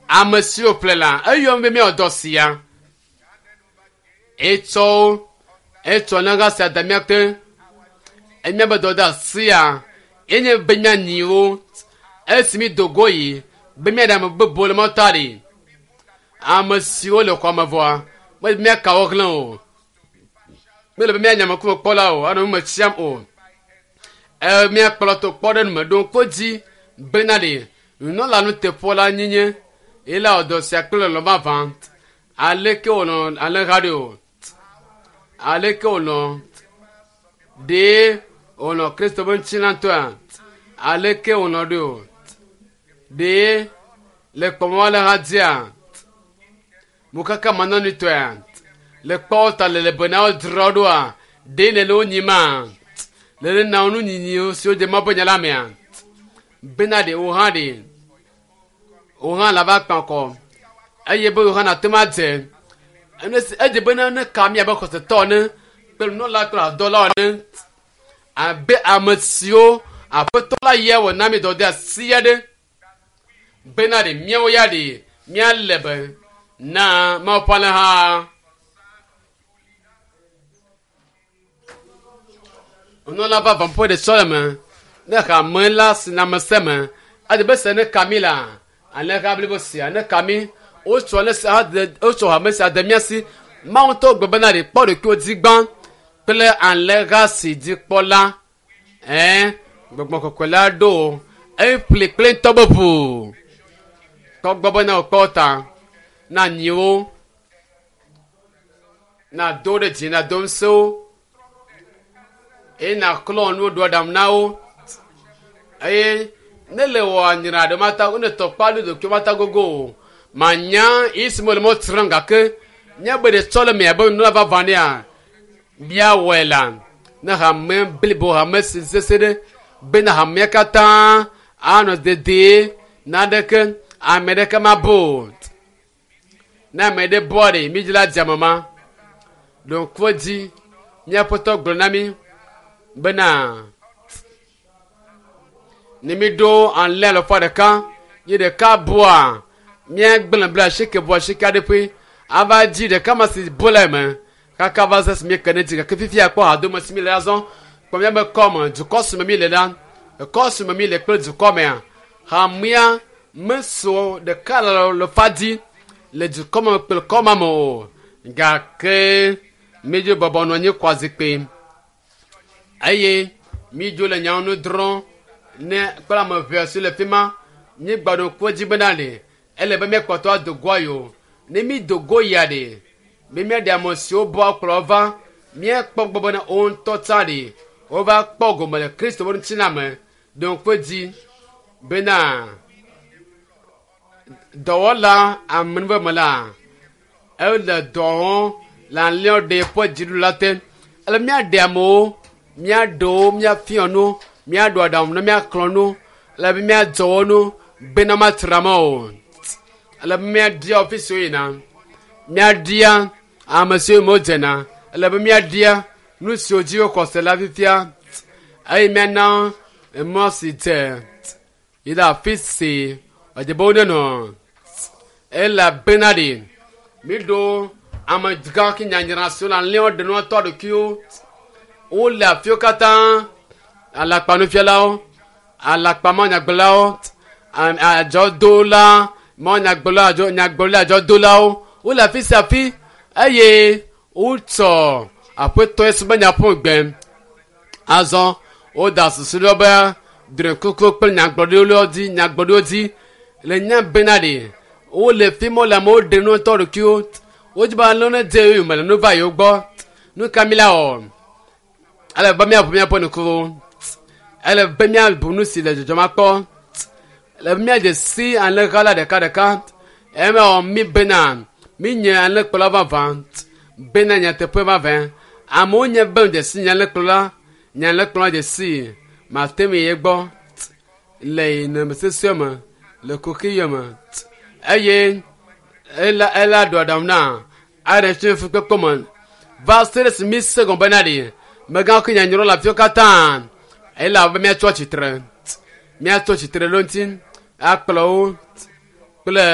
Ame siwo ƒle la, eyɔm be míawɔ dɔ sia. Etsɔ wo, etsɔ alẽha sia de mía te. Enya be dɔdeasia enye be míanyi wo esi mído go yi be míaɖe ame bubuwo le mɔta ɖi. Ame siwo le xɔa me vɔa, mele be míaka wo hlẽ o. Mele be míanye ameŋkumekpɔla o, anɔ nu me tsiam o. E, míakplɔ to kpɔ ɖe nu me ɖo ŋku edzi bena ɖe nunɔla nuteƒewɔla nyenye ye la wɔ dɔ sia kple lɔlɔ̃ vavã. Aleke wòlɔ̃ alẽha ɖe o? Aleke wòlɔ̃ ɖee wòlɔ̃ Kristo ƒe ŋutilãtɔa? Aleke wòlɔ̃ ɖe o? Ɖee le kpɔmɔ alẽha dzia? Mokaka manɔnitɔea? Le kpɔwo ta le le be na wodzra wo ɖoa? Ɖee nèle wo nyima? Le ne na wo nunyinyi siwo dze Mawu ƒe nya la mea? Bena ɖe wò hã ɖe wò hã lava kpa kɔ eye be wò hã nàte ŋu adze ene si edze be ne ka mí abe xɔsetɔ ene kple nunɔla kple hadɔla ene abe ame siwo aƒetɔ la ya wɔ na mí dɔdeasi aɖe bena ɖe míawo ya ɖe míalé be na Mawu ƒe alẽha. Nunɔla vavã ƒe ɖe sɔleme ne hame la si na ame sia ame ede be se ne ka mi la alẽha blibo sia ne ka mi wotsɔ ne sia de wotsɔ hame sia de mía si Mawu ŋutɔ gblɔ bena ɖe kpɔ ɖokuiwò dzi gbã kple alẽha si dzi kpɔla ɛɛ gbɔgbɔ kɔkɔe la ɖo eƒli kple ŋutɔ be ʋu kpɔ gbɔ bena wòkpɔ ta na nyiwo nàdo ɖe dzi nàdo ŋusẽ wo eye nàklɔ nuwo ɖo aɖaŋu na wo eye ne le wɔ anyra ɖe mata ne tɔkpa ɖo ɖokuiwo mata gogo o manya yi si me le mɔ srɔ̃m gake míabe ɖe tsɔ le mia be nunɔla vavã nea míawɔe la ne hame blibo hame si sese ɖe bena hamea katã anɔ dedie naneke ame ɖeke mabo o ne ame ɖe bɔa ɖe mídzi la dze ame ma ɖo ŋku edzi míaƒetɔ gblɔ na mí bena ne míɖo alẽ alafa ɖeka ye ɖeka bua míagblẽ bla asieke bua asieke aɖe ƒe ava dzi ɖeka ma si bu le eme kaka va se si míeke ne dzi gake fifia kpɔ hadome si míle azɔ kpɔ míabe kɔme dukɔ si me míle la ekɔ si me míle kple dukɔ mea hamea meso ɖeka le lefa dzi le dukɔ me kple kɔma me o gake mídzo bɔbɔ nɔ anyi kɔ zikpui eye mídzo le nyawo nu drɔ̃ ne kple ame ʋɛ si le fi ma míegba ɖo ŋku edzi bena ɖe ele be míakpɔtɔ ado goa yi o ne mído go yia ɖe be míaɖe ame siwo bɔ kplɔ va míakpɔ gbɔ bena wo ŋutɔ tsã ɖe wova kpɔ gome le Kristo ƒe ŋutilã me ɖo ŋku edzi bena dɔwɔla amenuveme la ele dɔ wɔm le alẽwo ɖe ƒe dziɖula te ele míaɖe amewo míaɖe wo míafiɔ nu míaɖo aɖaŋu ne míaxlɔ nu ele be míadzɔ wo nu bena matra me o ele be míaɖia ɔfisi yina míaɖia ame siwo modzena ele be míaɖia nu siwo dzi woxɔ se la fifia eye míana emɔ si dze yi ɖe afi si edze be wonenɔ elabena ɖe míɖo amegã ke nyanyra siwo le alẽwo ɖe nua tɔ ɖokuiwo wole afiwo katã alakpanufialawo alakpamɔnyagblɔlawo adzɔdola mɔnyagblɔla adzɔ nyagblɔla adzɔdolawo wole afi sia afi eye wotsɔ aƒetɔ Yesu be nya ƒu gbe azɔ woda susu ɖe be drɔ̃ekuku kple nyagblɔɖiwo dzi nyagblɔɖiwo dzi le nya bena ɖe wole fi ma wole amewo ɖe nu tɔ ɖokuiwo wodzi be alẽ ne dze yome le nu va yewo gbɔ nu ka mi la wɔ ele be míaʋu míaƒe ŋkuwo ele be míabu nu si le dzɔdzɔm akpɔ ele be míadze si alẽha la ɖekaɖeka ema wɔ mí bena mínye alẽkplɔla vavã bena nyateƒe vavã amewo nye be dze si nye alẽkplɔla nye alẽkplɔla dze si mate ŋu yi egbɔ le nɔnɔme sesẽ me le kuxi me eye ela ela ɖo aɖaŋu na aɖe tso fukpekpe me va se ɖe esi mi se gɔme bena ɖe megã ke nyanyra le afiwo katã ele abe míatso tsitre míatso tsitre ɖe ŋuti akplɔ wo kple.